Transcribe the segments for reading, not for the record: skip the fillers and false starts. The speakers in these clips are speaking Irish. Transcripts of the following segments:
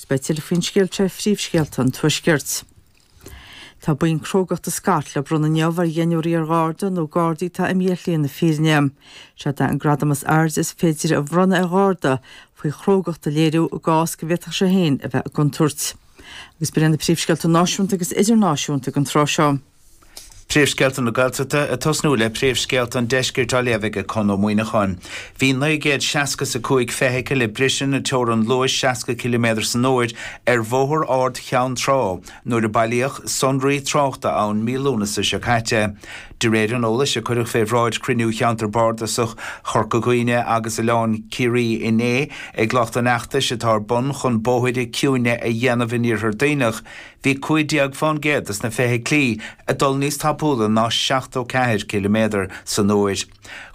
Beidh tuilleadh faoin scéal seo ar phríomhscéalta an Tuaiscirt. Tá boinn crógachta Scott le bronnadh inniu ar dheichniúr iar-Gharda nó Gardaí atá imithe ar shlí na fírinne. Seod é an gradam is airde is féidir a bhronnadh ar Gharda faoi chrógacht a léiriú i gcás go bhféadfadh sé féin a bheith i gcontúirt. Agus b'in iad na príomhscéalta náisiúnta agus idirnáisiúnta ag an tráth seo. Príomhscéalta na Gaeltachta ag tosnú le príomhscéalta an Deiscirt á léamh ag Conn Ó Muíneacháin. Bhí 965 feithicil ag briseadh na teorann luais 60 ciliméadar san uair ar Bhóthar Ard Cheann Trá nuair a bailíodh sonraí tráchta ann mí Lúnasa seo caite. De réir an eolais a cuireadh fé bhráid chruinniú Cheantar Bardasach Chorca Dhuibhne agus Oileán Ciarraí inné ag lucht an fheachtais atá ar bun chun bóithre ciúine a dhéanamh in Iarthar Duibhneach, Bhí 15 fán gcéad des na feithiclí ag dul níos tapúla ná 74 ciliméadar san uair.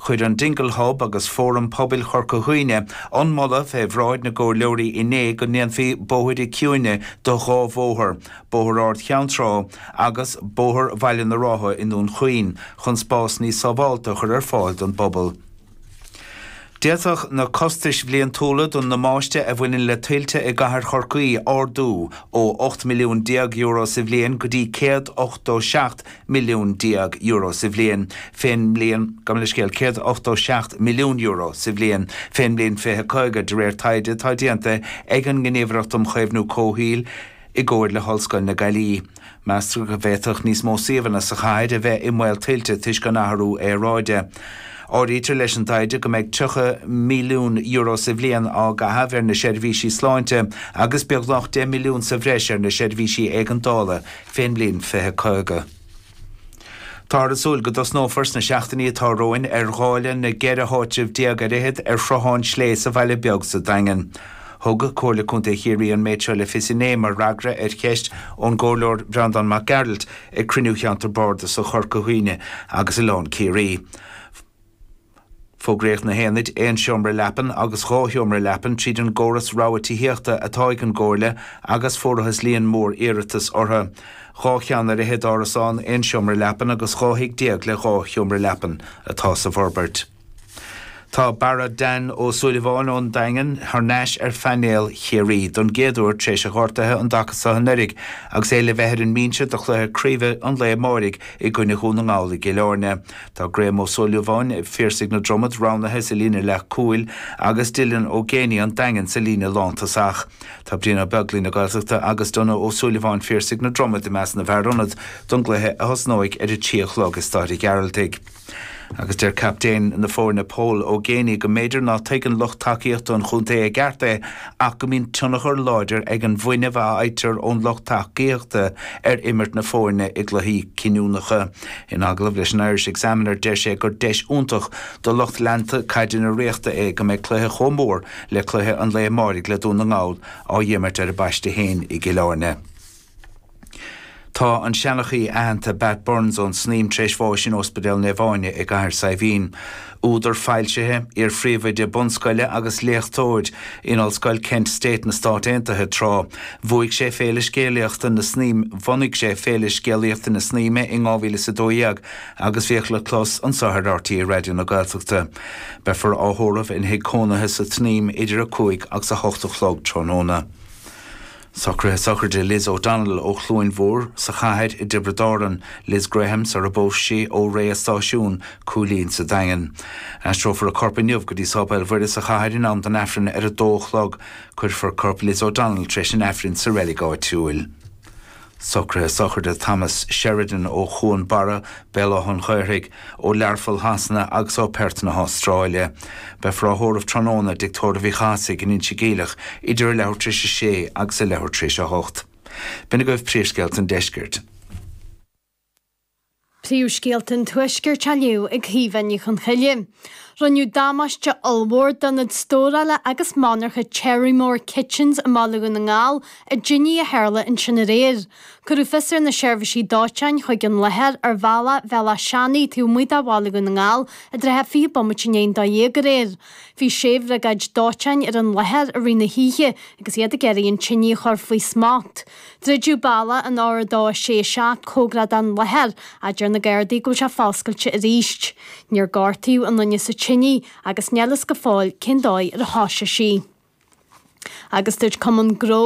Chuir an Dingle Hub agus Fóram Pobail Chorca Dhuibhne an moladh fé bhráid na gcomhairleoirí inné go ndéanfaí bóithre ciúine do dhá bhóthar, Bóthar Ard Cheann Trá agus Bóthar Bhaile na Rátha i nDún Chaoin, chun spás níos sábhálta a chur ar fáil don bpobal. D'fhéadfadh na costais bhliantúla don ndamáiste a bhaineann le tuilte i gcathair Chorcaí ardú ó €18 milliún sa bhliain go dtí €187 milliún sa bhliain fén mbliain, gabh mo leithscéal, €187 milliún sa bhliain fén mbliain 2050, de réir taighde atá déanta ag an nGníomhaireacht um Chaomhnú Comhshaoil i gcomhar le hOllscoil na Gaillimhe. Meastar go bhféadfadh níos mó suíomhanna sa chathair a bheith i mbaol tuilte toisc an athrú aeráide. Áirítear leis an dtaighde go mbeidh €30 milliún sa bhliain á gcaitheamh ar na seirbhísí sláinte agus beagnach €10 milliún sa bhreis ar na seirbhísí éigeandála fén mbliain 2050. Táthar ag súil go dtosnófar sna seachtainí atá romhainn ar dháileadh na gceithre háitreabh déag ar fhichead ar Shruthán Slé sa Bhaile Beag sa Daingean. Thug Comhairle Contae Chiarraí an méid seo le fios inné mar fhreagra ar cheist ón gComhairleoir Breandán Mac Gearailt ag cruinniú Cheantar Bardasach Chorca Dhuibhne agus Oileán Ciarraí. Fógraíodh na haonaid aon seomra leapan agus dhá sheomra leapan tríd an gcóras rogha tithíochta atá ag an gComhairle agus fuarathas líon mór iarratas orthu. Dhá cheann ar fhichead árasán aon seomra leapan agus 12 thigh le dhá sheomra leapan atá sa bhforbairt. Tá Barra Dan Ó Súilleabháin ón Daingean thar n-ais ar phainéal Chiarraí don gcéad uair tar éis a ghortaithe an dtaca seo anuraidh agus é le bheith ar an mbinse do chluiche craoibhe an lae amáirigh i gcoinne Dhún na nGall i gCill Airne. Tá Graham Ó Súilleabháin, Phiarsaigh na Dromad, roghnaithe sa líne leath-chúil agus Dylan Ó Géibheannaigh, An Daingean, sa líne lántosach. Tá Brian Ó Beaglaoi na Gaeltachta agus Donagh Ó Súilleabháin, Phiarsaigh na Dromad, i measc na bhfear ionad don gcluiche a thosnóidh ar a trí a chlog i Staid an Ghearaltaigh. Agus deir captaen na foirne Pól Ó Géibheannaigh go mb'fhéidir ná tuigeann lucht tacaíochta an chontae i gceart é ach go mbíonn tionchar láidir ag an bhfuinneamh a fhaightear ón lucht tacaíochta ar imirt na foirne i gcluichí cinniúnacha. In agallamh leis an Irish Examiner deir sé gur deis iontach do lucht leanta caide na Ríochta é go mbeidh cluiche chomh mór le cluiche an lae amáirigh le Dún na nGall á dh'imirt ar a bpaiste féin i gCill Airne. Tá an seanchaí aitheanta Bat Burns ón Snaidhm tar éis bháis in Ospidéal Naomh Áine i gCathair Saidhbhín. Údar foilsithe, iar-phríomhoide bunscoile agus léachtóir in Ollscoil Kent State na Stát Aontaithe tráth. Bhuaigh sé Féile Scéalaíochta na Snaidhme Bhunaigh sé Féile Scéalaíochta na Snaidhme in 2012 agus bhíodh le clos anso ar RTÉ Raidió na Gaeltachta. Beifear á thórramh ina thigh cónaithe sa tSnaidhm idir 5 agus 8 a chlog tráthnóna. Socruithe sochraide Liz O'Donnell ó Chluain Mhór sa chathair i dTiobraid Árann, Liz Graham sar a bpós sí ó Rae a' Stáisiún, Cúilín sa Daingean. Aistreofar a corp inniu go dtí Sáipéal Mhuire sa chathair in am don Aifreann ar a dó a chlog. Cuirfear corp Liz O'Donnell tar éis an Aifrinn sa reilig áitiúil. Socruithe sochraide Thomas Sheridan ó Chuan Barra, Béal Átha an Ghaorthaidh, ó Learpholl Shasana agus ó Perth na hAstráile. Beifear á thórramh tráthnóna i dTigh Tórraimh Uí Chathasaigh in Inse Geimhleach idir a leathuair tar éis a sé agus a leathuair tar éis a hocht. B'in agaibh príomhscéalta an deiscirt. Príomhscéalta an Tuaiscirt á léamh ag Caoimhe Ní Chonchoille. Rinneadh damáiste ollmhór d'ionad stórála agus monarcha Cherrymore Kitchens i mBaile Dhún na nGall i dtine a tharla ansin aréir. Cuireadh fios ar na seirbhísí dóiteáin chuig an láthair ar bhealach Bhéal Átha Seanaidh taobh amuigh de Bhaile Dhún na nGall i dtrátha 20 bomaite i ndiaidh an 12 aréir. Bhí sé bhriogáid dóiteáin ar an láthair i rith na hoíche agus iad ag iarraidh an tine a chur faoi smacht. Druideadh bealach an R2 6 7 cóngarach don láthair ach deir na Gardaí go bhfuil sé foscailte arís. Níor gortaíodh aon duine sa tine agus níl fhios go fóill cén dóigh ar thosaigh sí. Agus dúirt Cumann Gnó.